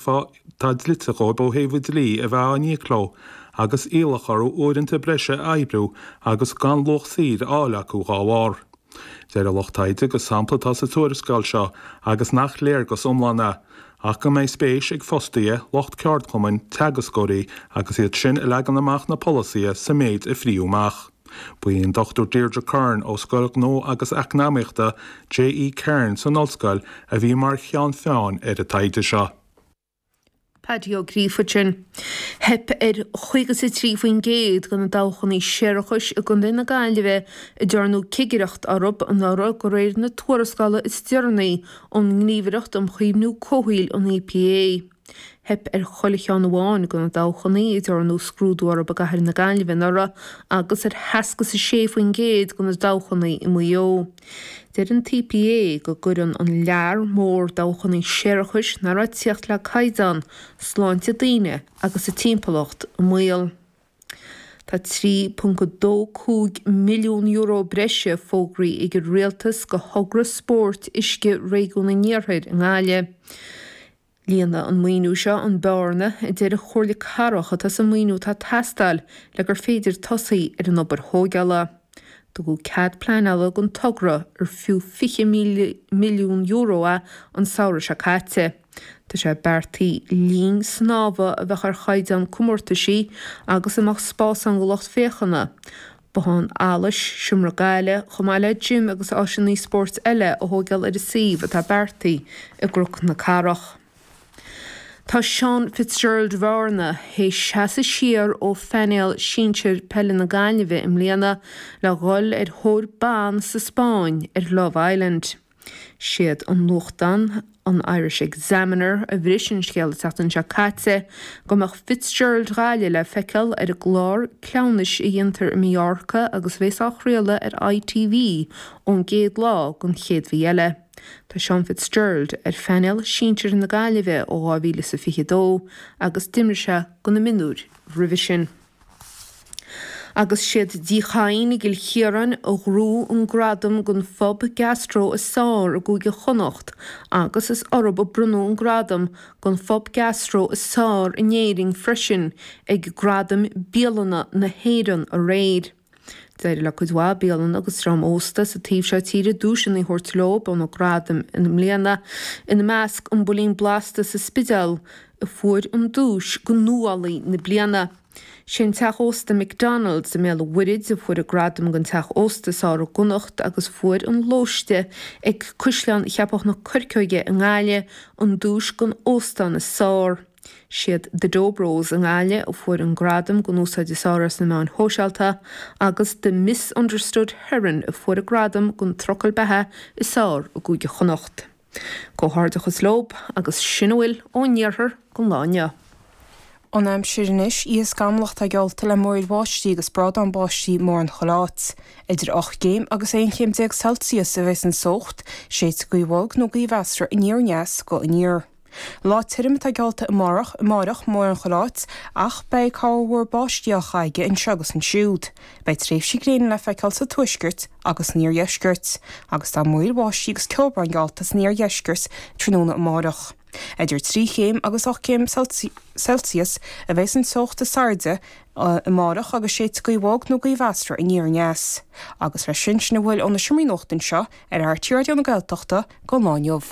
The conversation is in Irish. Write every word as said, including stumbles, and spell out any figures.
phá atá dlite dhóibh ó thaobh an dlí a bheith á n-íoc leo agus iallach orthu uaireanta breise a oibriú agus gan luach saothair a fháil acu dá bharr. Deir an lucht taighde gur sampla atá sa tuarascáil seo agus nach léargas iomlán é, ach go mbeidh spéis ag fostaithe, lucht ceardchumainn, teagascóirí agus iad sin a leagann amach na polasaithe sa méid a frítheadh amach. Ba í an Dochtúir Deirdre Curran ó Scoil Ghnó agus Eacnamaíochta J E Cairns san ollscoil a bhí mar cheann feadhain ar an taighde seo. Paddy Ó Gríofa sin. Theip ar chaoga is a trí faoin gcéad de na dabhchanna séarachais i gContae na Gaillimhe a ndearnadh cigireacht orthu anuraidh de réir na tuarascála is deireanaí ón nGníomhaireacht um Chaomhnú Comhshaoil, an E P A. Theip ar chuile cheann amháin de na dabhchanna a ndearnadh scrúdú orthu i gcathair na Gaillimhe anuraidh agus ar sheasca is a sé faoin gcéad de na dabhchanna i Maigh Eo. Deir an E P A go gcuireann an lear mór dabhchanna séarachais nach raibh ag tíocht le caighdeán sláinte daoine agus a timpeallacht i mbaol. Tá trí ponc dó cúig milliún euro breise fógraithe ag an rialtas do thogra spóirt uisce réigiún an Iarthair i nGaillimh. Líonfaidh an maoiniú seo an bearna a deir an Chomhairle Cathrach atá sa maoiniú atá ag teastáil le gur féidir tosaí ar an obair thógála. Tugadh cead pleanála don togra ar fiú fiche milliún euro é an samhradh seo caite. Tá sé beartaithe linn snámha a bheadh ar chaighdeán comórtaisí agus a mbeadh spás ann do lucht féachana. Bothán allais, seomra gaile, chomh maith le gym agus áiseanna spóirt eile a thógáil ar an suíomh atá beartaithe i gCnoc na Cathrach. Tá Seán Fitzgerald Bhearna théis seasamh siar ó phainéal sinsir peile na Gaillimhe i mbliana le dhul ar thóir ban sa Spáinn ar Love Island. Siad an nuachtán an Irish Examiner a bhris an scéal an tseachtain seo caite go mbeadh Fitzgerald Ghaillimh le feiceáil ar an gclár cleamhnais a dhéantar i Mallorca agus bheas á chraoladh ar I T V ón gcéad lá den chéad mhí eile. Tá Seán Fitzgerald ar phainéal sinsir na Gaillimhe ó dhá mhíle is a fiche dó agus d'imir sé do na mionúir roimhe sin. Agus siad Tigh Chadhain i gCill Chiaráin a ghnóthaigh an gradam don phub gastro is fearr i gCúige Chonnacht agus is orthu a bronnadh an gradam don phub gastro is fearr in Éirinn freisin ag Gradaim Bialanna na hÉireann aréir. D'éirigh le cuid mhaith bialanna agus dream ósta sa taobh seo tíre duaiseanna a thabhairt leo ó na gradaim i mbliana, ina measc an Builín Blasta sa Spidéal a fuair an duais do nuálaí na bliana. Sin teach ósta McDonald's i mBéal an Mhuirthead a fuair an gradam don teach ósta is fearr i gConnacht agus fuair an Lóiste ag Caisleán Cheapach na Coirceoige i nGaillimh an duais don óstán is fearr. Siad The Dobros i nGaillimh a fuair an gradam don úsáid is fearr as na meáin shóisialta agus The Misunderstood Heron a fuair an gradam don trucail beatha is fearr i gCúige Chonnacht. Comhghairdeachas leo agus sin a bhfuil ón iarthar don lá inniu. An aimsir anois, oíche scamallach atá geallta le múraíl bháistí agus brádán báistí mórán chuile áit. Idir ocht gcéim agus aon chéim déag Celsius a bheas an teocht, séidfidh gaoth bhog nó gaoth mheasartha aniar aneas go aniar. Lá tirim atá geallta amárach amárach mórán chuile áit ach beidh corrmhúr báistí á chaitheamh anseo agus ansiúd. Beidh tréimhsí gréine le feiceáil sa tuaisceart agus san iardheisceart, agus tá múraíl bháistí agus ceobhrán geallta san iardheisceart tráthnóna amárach. Idir trí chéim agus ocht céim Celsius a bheas an teocht is airde amárach agus séidfidh gaoth bhog nó gaoth mheasartha aniar aneas. Agus leis sin sin a bhfuil ó na seomraí nuachta anseo ar R T Raidió na Gaeltachta don lá inniu.